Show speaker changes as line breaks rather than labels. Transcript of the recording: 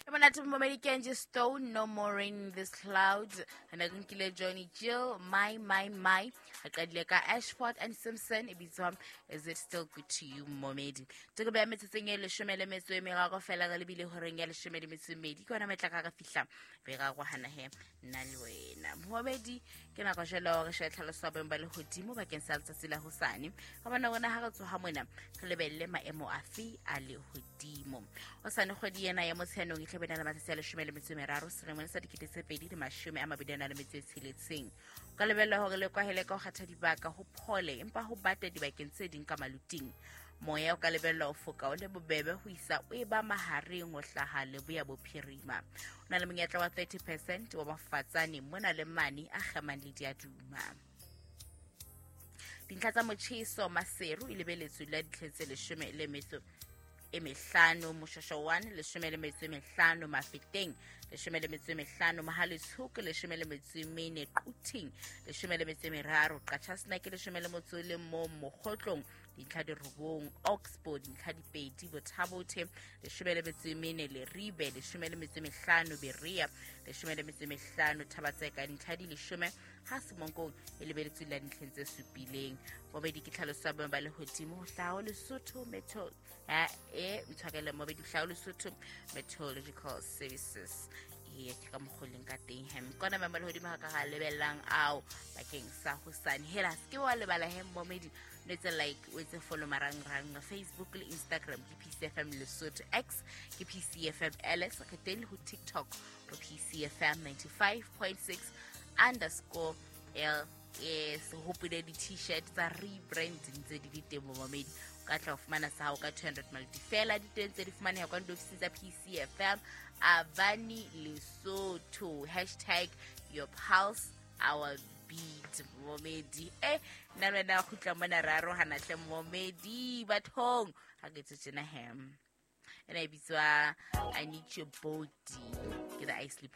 E monate momedi Kenji Stone, No More Rain in This Cloud. Re ne re nkile Johnny Gill, My My My. Re qadile ka Ashford and Simpson, e bitswa Is It Still Good to You, momedi. Teko ya metsotsong e 13 fela re lebile horeng ya 12. Ke yona metla ka re fihla be ra rohana he nna le wena. Momedi, ke nako jwale hore re shebe tlhaloso ya boemo ba lehodimo bakeng sa letsatsi la hosane. Ka bona rona ha re tsoha mona, re lebelle maemo afe a lehodimo. Hosane kgwedi ena ya Motsheanong e tla be na le matsatsi a 13 selemong sa 2026. O ka lebella hore le kwahele ka ho kgetha dibaka ho phole empa ho bata dibakeng tse ding ka maluting. Moya o ka lebella ho foka o le bobebe ho isa o e ba mahareng ho hlaha leboya bophirima. O na le monyetla wa 30% wa mafatsane mona le mane a kgemang le diaduma. Dintlha tsa motjheso Maseru e lebeletswe la ditlheng tse 15, Moshosho 1 15, Mafeteng 15, Mohale'shoek 14, Quthing 13, Qacha's Nek 11, Mokhotlong dintlha di 9, Oxford dintlha di 2, Botha-Bothe 14, Leribe 15, Berea 15, Thaba-Tseka dintlha di 10, ha Semonkong e lebeletswe la dintlheng tse 7. Bobedi ke tlhaloso ya boemo ba lehodimo ho hlaha ho Lesotho Metro e ntshwarele mobedi hlaha ho Lesotho Meteorological Services. E ke ka mokgwa o leng ka teng hem kona maemo a lehodimo ha ka ga lebellang ao bakeng sa hosane. Hela se ke wa lebala he momedi, o etse like, o etse follow marangrang Facebook le Instagram ke PCFM Lesotho, X ke PCFM LS, re teng le ho TikTok re PCFM 95.6 underscore LS. Hopole di-t-shirt tsa rebrand ntse di le teng momamedi, o ka tla ho fumana sa hao ka 200 maloti fela. Di teng tse di fumaneha kwa diofising tsa PCFM Avani Lesotho. Hashtag your pulse our beat. Momedi e nna le wena kgutla mona re arohana hle momedi bathong ha ke etse tjena hem ena e bitswa I Need Your Body ke the Isley.